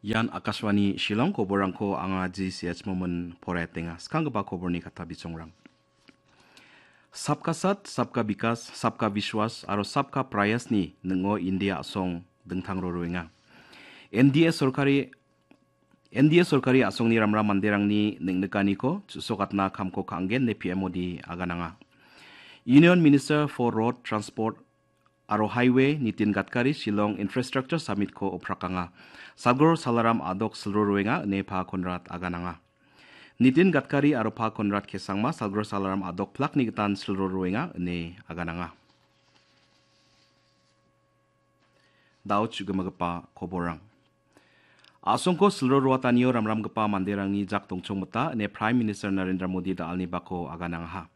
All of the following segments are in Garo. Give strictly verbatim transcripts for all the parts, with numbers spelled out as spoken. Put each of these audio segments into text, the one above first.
Ian Akashvani Shillong koborrangko anga G C H Momin poraiatenga. Skanggipa koborni kata bisongrang. Sabka Saath, Sabka Vikas, Sabka Vishwas aro Sabka Prayasni ning·o India a·song dingtang roroenga. N D A sorkari, N D A sorkari a·songni ramram manderangni neng·nikaniko chu·sokatna kamko ka·angen ine P M Modi agananga. Union Minister for Road Transport aro Highway Nitin Gadkari Shillong Infrastructure Summit-ko oprakanga. Salgor Salaram a·dok silroroenga ine Pa Conrad agananga. Nitin Gadkari aro Pa Conrad K Sangma Salgor Salaram a·dok plakni gitan silroroenga ine agananga. Da·o chu·gimagipa koborrang. A·songko silroroatanio ramramgipa manderangni jak dongchongmita ine Prime Minister Narendra Modi da·alni bako aganangaha.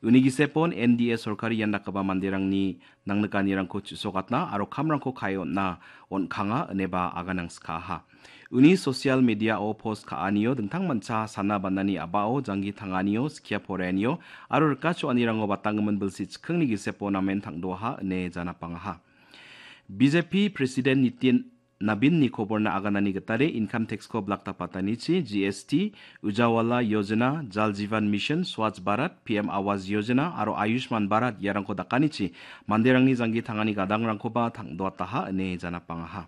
Uni gisepon N D A sorkari ian dakgipa manderangni nangnikanirangko chu·sokatna aro kamrangko ka·e on·na on·kanga ineba aganangskaaha. Uni social media-o post ka·anio dingtang mancha sana banani a·bao janggi tanganio, skia poraianio aro rika cho·anirango batanggimin bilsi chikkingni gisepo namen tangdoaha ine janapangaha. B J P President Nitin Nabinni koborna aganani gitade income tax-ko blak dapatanichi G S T, Ujawala Yojana, Jal Jeevan Mission, Swachh Bharat, P M Awas Yojana aro Ayushman Bharat iarangko dakanichi manderangni janggi tangani gadangrangkoba tangdoataha ine janapangaha.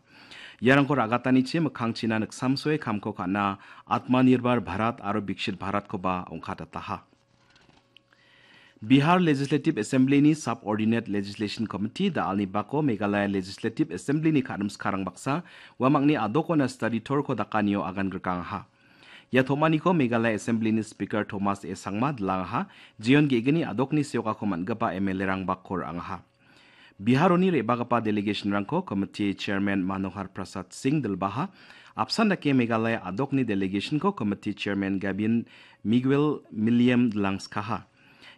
Iarangko ra·gatanichi mikkangchina niksamsoe kamko ka·na Atmanirbhar Bharat aro Viksit Bharatkoba ong·katataha. Bihar Legislative Assembly-ni Subordinate Legislation Committee da·alni bako Meghalaya Legislative Assembly-ni ka·rimskarang baksa uamangni a·dokona study tour-ko dakanio agan grikangaha. Ia tom·aniko Meghalaya Assembly-ni Speaker Thomas A Sangma dilangaha, jeon ge·gni a·dokni seokako man·gipa M L A-rang bako ra·angaha. Biharoni re·bagipa delegation-rangko Committee Chairman Manohar Prasad Singh dilbaha. Apsan dake Meghalaya a·dokni delegation-ko Committee Chairman Gabin Miguel Milliam dilangskaha.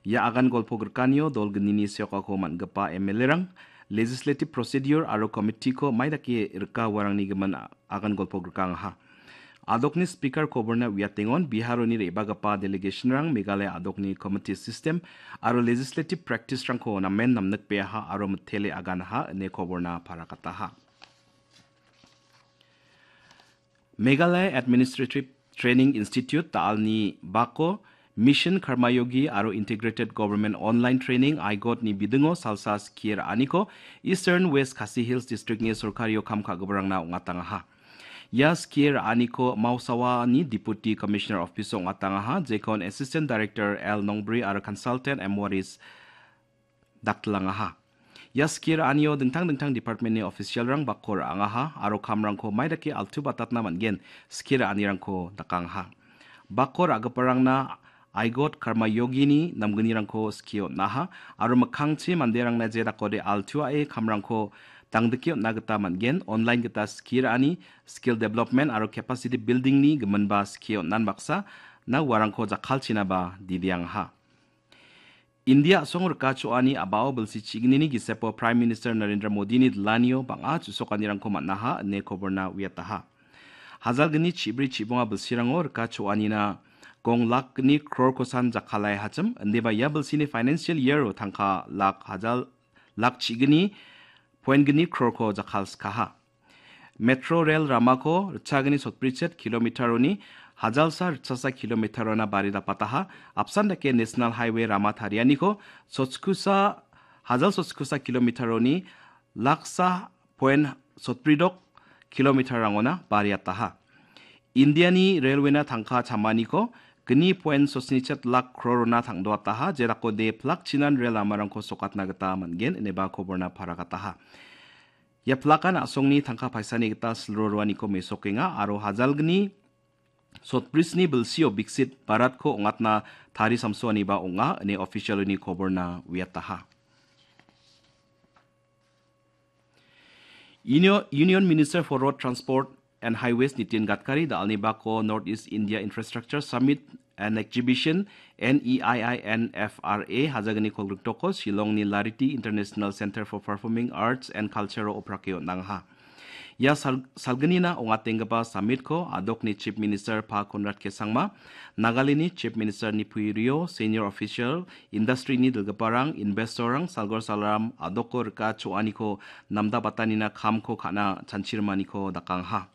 Ia agan golpo grikanio dol gnini seokako man·gipa M L A-rang legislative procedure aro committee-ko mai dake rika uarangni gimin a-, agan golpo grikangaha. A·dokni Speaker koborna uiatengon Biharoni re·bagipa delegation-rang Meghalaya a·dokni committee system aro legislative practice-rangko namen namnikbeaha aro mitele aganaha ine koborna parakataha. Meghalaya Administrative Training Institute da·alni bako Mission Karmayogi aro Integrated Government Online Training, aigot-ni bidingo salsa skie ra·aniko Eastern West Khasi Hills District-ni sorkario kam ka·giparangna ong·atangaha. Ia skie ra·aniko Mausawani Deputy Commissioner Office-o ong·atangaha, jekon Assistant Director L Nongbri aro Consultant M Waris daktilangaha. Ia skie ra·anio dingtang dingtang department-ni official-rang bako ra·angaha aro kamrangko mai dake altu batatna man·gen skie ra·anirangko dakangaha. Bako ra·giparangna aigot Karma Yogini namgnirangko skie on·aha aro mikkangchi manderangna je dakode altuae kamrangko dangdike on·na gita man·gen, online gita skie ra·ani, skill development aro capacity building-ni giminba skie on·an baksa na uarangko jakkalchinaba didiangaha. India a·song rika cho·ani a·bao bilsi chignini gisepo Prime Minister Narendra Modini dilanio bang·a chu·sokanirangko man·aha ine koborna uiataha. Hajalgni chibri chibonga bilsirango rika cho·anina gong lakgni krorkosan jakkalai hachim, indiba ia bilsini financial year-o tangka lak hajal, lak chigni point gni krorko jakkalskaha. Metro rel ramako ritchagni sotbrichet kilometer-oni hajalsa ritchasa kilometer-ona bari dapataha, apsan dake National Highway rama tarianiko sotkusa, hajal sotkusa kilometer-oni laksa point sotbridok kilometer-rangona bariataha. Indiani railway-na tangka chamaniko gni point sotnichet lak krorona tangdoataha, jedakode plak chinan rel lamarangko sokatna gita man·gen, ineba koborna paragataha. Ia plakan a·songni tangka paisani gita silro roaniko mesokenga aro hajalgni sotbrisni bilsio Biksit Bharatko ong·atna tari samsoaniba ong·a, ine official-oni koborna uiataha. Unio-, Union Minister for Road Transport and Highways Nitin Gadkari da·alni bako North East India Infrastructure Summit and Exhibition, N E I I N F R A, hajagni kolgriktoko Shillongni Lariti International Center for Performing Arts and Culture-o oprake on·angaha. Ia sal-, salgnina ong·atenggipa summit-ko a·dokni Chief Minister Pa Conrad K Sangma, Nagalandni Chief Minister Neiphiu Rio, senior official, industry-ni dilgiparang, investor-rang, salgor salram a·doko rika cho·aniko namdabatanina kamko ka·na chanchirimaniko dakangaha.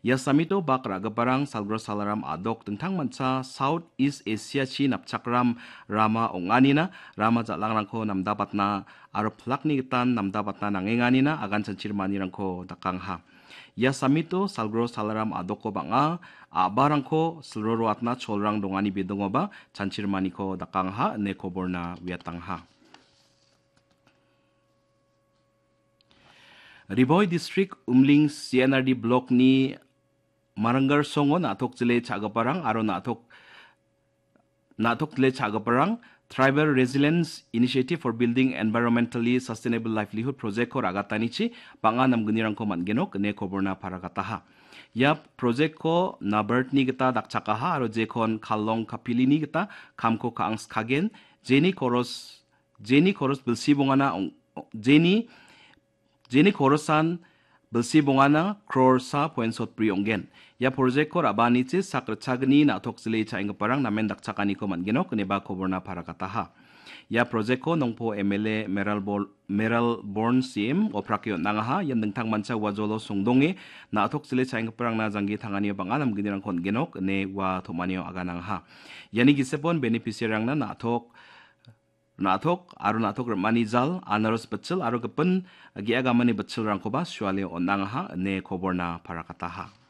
Ia samito bak ra·giparang Salgro Salaram a·dok dingtangmancha South East Asia-chi napchakram rama ong·anina rama jal·angrangko namdabatna aro plakni gitan namdabatna nangenganina agan chanchirmanirangko dakangha. Ia samito Salgro Salaram a·doko bang·a a·barangko silroroatna cholrang dongani bidongoba chanchirmaniko dakangha ine koborna uiatangha. Riboi District Umling C N R D Blockni Maranggar Songo na·tok jile cha·giparang aro na·tok, na·tok jile cha·giparang Tribal Resilience Initiative for Building Environmentally Sustainable Livelihood Projectko ra·gatanichi bang·a namgnirangko man·genok ine koborna paragataha. Ia projectko NABARDni gita dakchakaha aro jekon Kallong Kapilini gita kamko ka·angskagen, jeni koros jeni koros bilsi bongana ong-, jeni, jeni korosan bilsi bongana crore sa point sotbri ong·gen. Ia projectko ra·baanichi sak ritchagni na·tok jile cha·enggiparang namen dakchakaniko man·genok ineba koborna paragataha. Ia projectko nongpo M L A Meral Bol-, Meral Born C M oprake on·angaha. Ian dingtangmancha ua jolo songdonge na·tok jile cha·enggiparangna janggi tanganio bang·a namgnirangko on·genok ine ua tom·anio aganangaha. Iani gisepon beneficiary-rangna na·tok na·tok aro na·tok rim·ani jal, anaros bitchil aro gipin ge·a gamani bitchilrangkoba suale on·angaha ine koborna parakataha.